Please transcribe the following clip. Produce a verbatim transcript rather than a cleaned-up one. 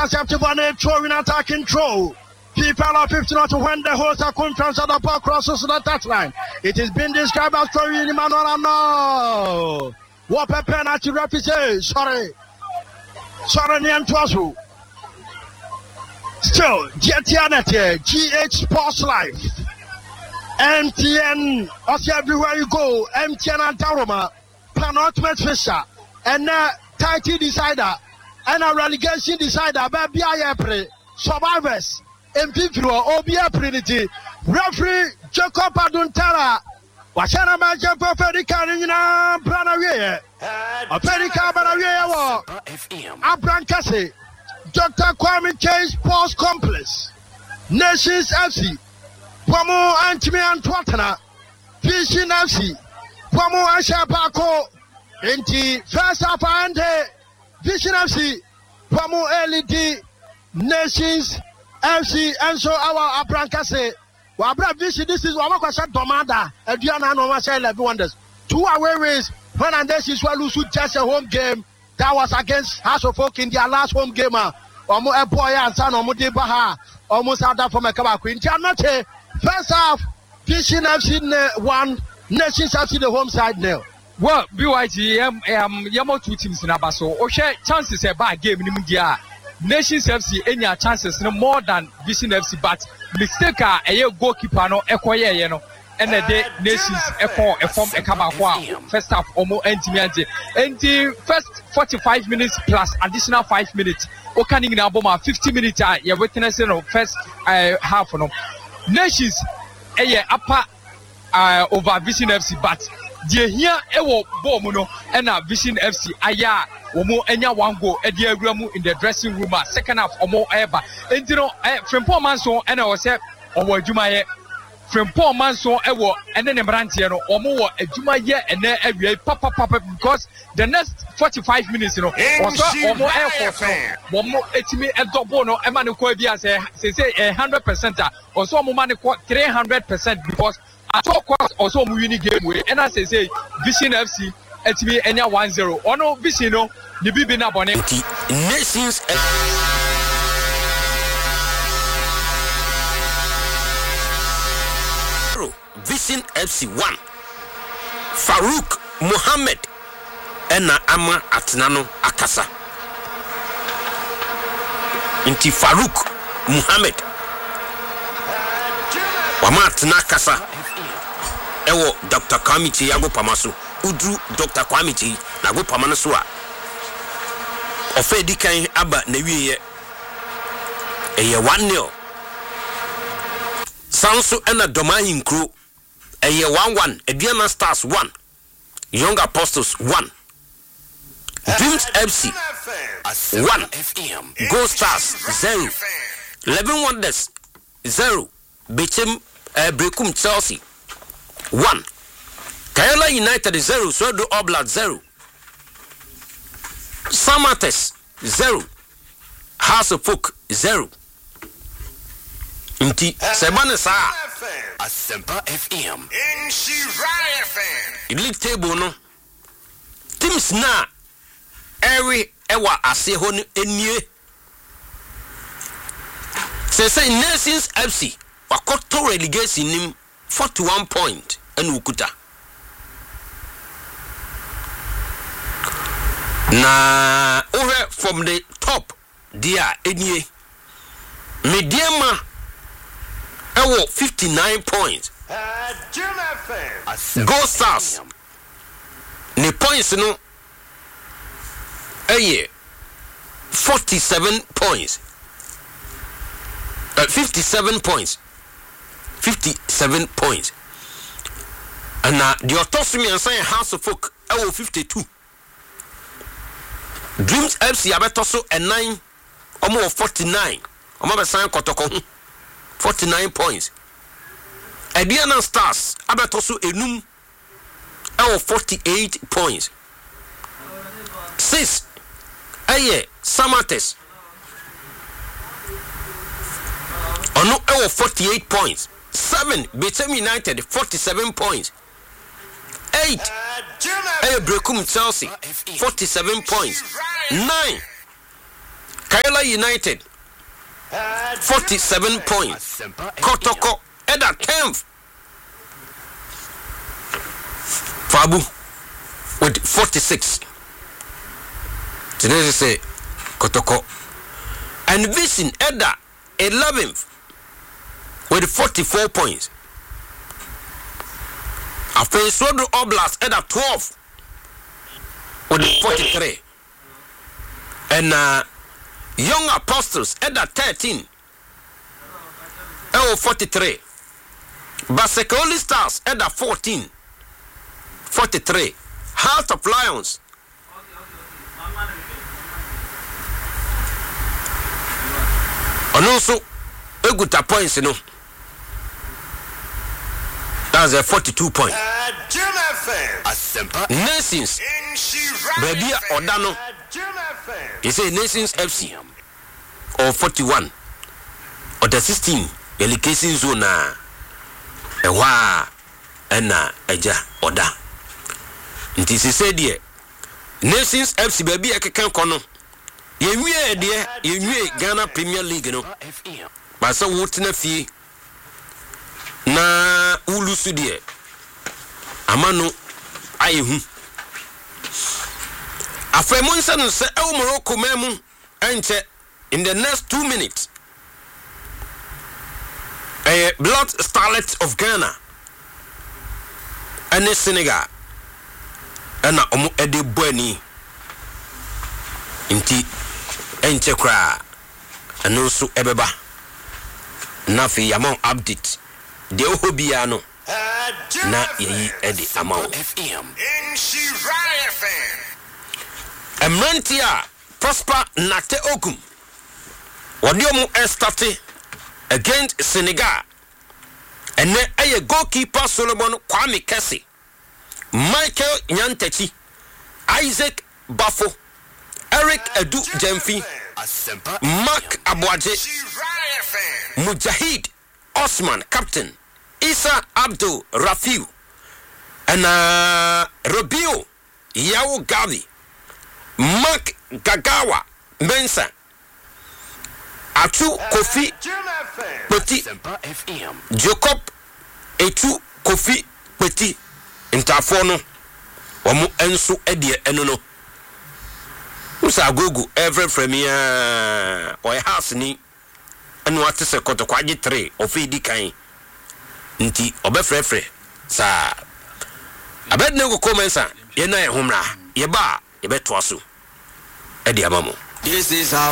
Intercepted one throw in attacking throw. People are fifteen to when the host are conference at the ball crosses the touchline. It is being described as throwing Emmanuel no. What a penalty referee say? Sorry. Sorry, Niantuasu. Still, G T N G H Sports Life. M T N, also everywhere you go, M T N and Daroma, penultimate fixture, and uh, title decider, and a relegation decider, baby, I pray, survivors, M P three, O B Prinity, referee Jacob Aduntara, wahyɛ na manhyɛ mpo fɛdi ka no nyinaa bra na wieɛ ɔfɛdi ka ba na wieɛ wɔ Abrankɛse Doctor Kwame Kyei Sports Complex. Nations F C wɔn antumi anto atena Vision F C wɔn ahyɛ baako, nti first half ande Vision F C wɔn ɛlead Nations F C nso awɔ Abrankɛse. Wabra Vision this is wɔn akɔhyɛ Dɔmada Aduana na wɔn ahyɛ Eleven Wonders, two away wins when and Nations were lose just a home game that was against Hearts of Oak in their last home game a wɔn ɛbɔ yɛ ansa na wɔn de ba ha a wɔn nsa da fam ɛka baako. Nti anɔkye first half, Vision F C ne one, Nations F C the home side nil. Well, B Y T, yɛm um, yɛmɔ two teams n'aba so. Wohwɛ chances ɛbaa game no mu deɛ a, Nations F C enya chances no more than Vision F C, but mistake a ɛyɛ goalkeeper no ɛkɔyɛɛyɛ no ɛna ɛde Nations ɛkɔ ɛfam ɛka baako a first half ɔmo ɛntumi agye. Nti first forty five minutes plus additional five minutes, woka ne nyinaa bɔ ma fifty minutes a yɛ witness no first uh, half no, Nations ɛyɛ upper uh, over Vision F C, but deɛ hia ɛwɔ bɔɔl mu no ɛna Vision F C ayɛ a wɔn anya one goal ɛde awura mu in the dressing room a second half wɔn ɛreba. Nti no ɛ Frimpong Manso ɛna ɛwɔ sɛ ɔwɔ adwumayɛ. Frimpong Manso ɛwɔ ɛne ne mmeranteɛ no wɔn wɔ adwumayɛ ɛnɛ awia yi papapapa, because the next forty five minutes no wɔsɔ wɔn ɛɛfɔ so wɔn etimi ɛdɔbo no ɛma ne kɔ ebi asɛ sese ɛ hundred percent a ɔsɔ wɔn ma ne kɔ three hundred percent, because at all cost ɔsɔ wɔn win game wei. Ɛna sese Vision F C ɛtumi ɛnya one zero, ɔno Vision no ne bibi na bɔne. Nti Nations zero, Vision F C one. Farouk Mohammed ɛna ama atena no akasa. Nti Farouk Mohammed wama atena akasa ɛwɔ Doctor Kwame Kyei agopama so. Woduru Doctor Kwame Kyei n'agopama no so a, ɔfɛ di kan aba n'awieɛ, ɛyɛ one nil. San nso ɛna Dɔm Ahenkuro ɛyɛ one one, Aduana Stars one, Young Apostles one, Dreams F C one, Gold Stars zero, Eleven Wonders zero, Bechem uh, Berekum Chelsea one, Karela United zero, Swedru All Blacks zero, Samartex zero, Hearts of Oak zero. Nti sɛ ɛba ne saa a, Asempa F M. League table no, teams na ɛwe ɛwɔ aseɛ hɔ no nie. Sɛ sɛ Nations F C wakɔtɔ relegation nim, forty one point ɛna okuta, na wohwɛ from the top deɛ a ɛnie, Medeama ɛwɔ fifty nine points, Gold Stars ne points no ɛyɛ forty seven points, uh, fifty seven points, fifty seven points, ɛna deɛ ɔtɔ so mmiɛnsa yɛ Hearts of Oak ɛwɔ fifty two. Dreams F C abɛtɔ so ɛnan, wɔn wɔ forty nine, wɔn abɛsan Kɔtɔkɔ ho, forty nine points. Aduana Stars abɛtɔ so enum ɛwɔ forty eight points. Six ɛyɛ Samartex, ɔno ɛwɔ forty eight points. Seven, Bechem United, forty seven points. Eight ɛyɛ Berekum Chelsea, forty seven points. Nine Karela United forty-seven points. Kotoko ɛda tenth, Fabu, with forty-six. Today sɛ Kotoko and Vision ɛda eleventh with forty-four points. Afei Swedru All Blacks ɛda twelve with forty-three. Ɛna Young Apostles ɛda thirteen ɛwɔ forty-three. Basake Holy Stars ɛda fourteen, forty-three. Heart of Lions ɔno nso ekuta points no, that's a forty-two points. Nations, baabi a ɔda no, they say Nations F C or forty-one, ɔda sixteen, relegation zone a ɛhɔ a ɛna ɛgya ɔda. Nti sise deɛ, Nations F C, baabi a ɛkeka kɔ no, yɛnwie deɛ, yɛnwie Ghana Premier League no baasa. Wotena fie na wolusu deɛ, ama no ayɛ hu. Afei mo nsa no sɛ ɛwɔ Morocco man mu, ɛnkyɛ, in the next two minutes, ɛyɛ Black Starlet of Ghana ɛne Senegal ɛna ɔmo ɛde bɔ ani. Nti ɛnkyɛ koraa ɛno nso ɛbɛba na afei yɛama wo update deɛ ɛwɔ hɔ biara no na yɛyi ɛde ama wo. Mmeranteɛ a Prosper Narteh Ogum wɔde ɔmo ɛ start against Senegal ɛnɛ ɛyɛ goalkeeper Solomon Kwame Kɛse, Michael Nyantakyi, Isaac Bafo, Eric Adu Gyamfi, Mark Aboagye, Mujahid Osman captain, Isa Abdul Rafiu, ɛna Robio Yawo Gavi, Mark Gagawa Mensa, Atu Kofi Kpeti, Jacob Etu Kofi Kpeti. Ntaafoɔ no wɔn nso deɛ ɛno no musa agogo ɛfrɛfrɛ mi aa ɔyɛ house ni ɛna wate sɛ Kɔtɔkɔ agye three ɔfɛ di kan, nti ɔbɛfrɛfrɛ saa. Abɛdene koko Mɛnsa yɛn na yɛn ho mmra, yɛba a yɛbɛtoa so ɛde ama mo. This is how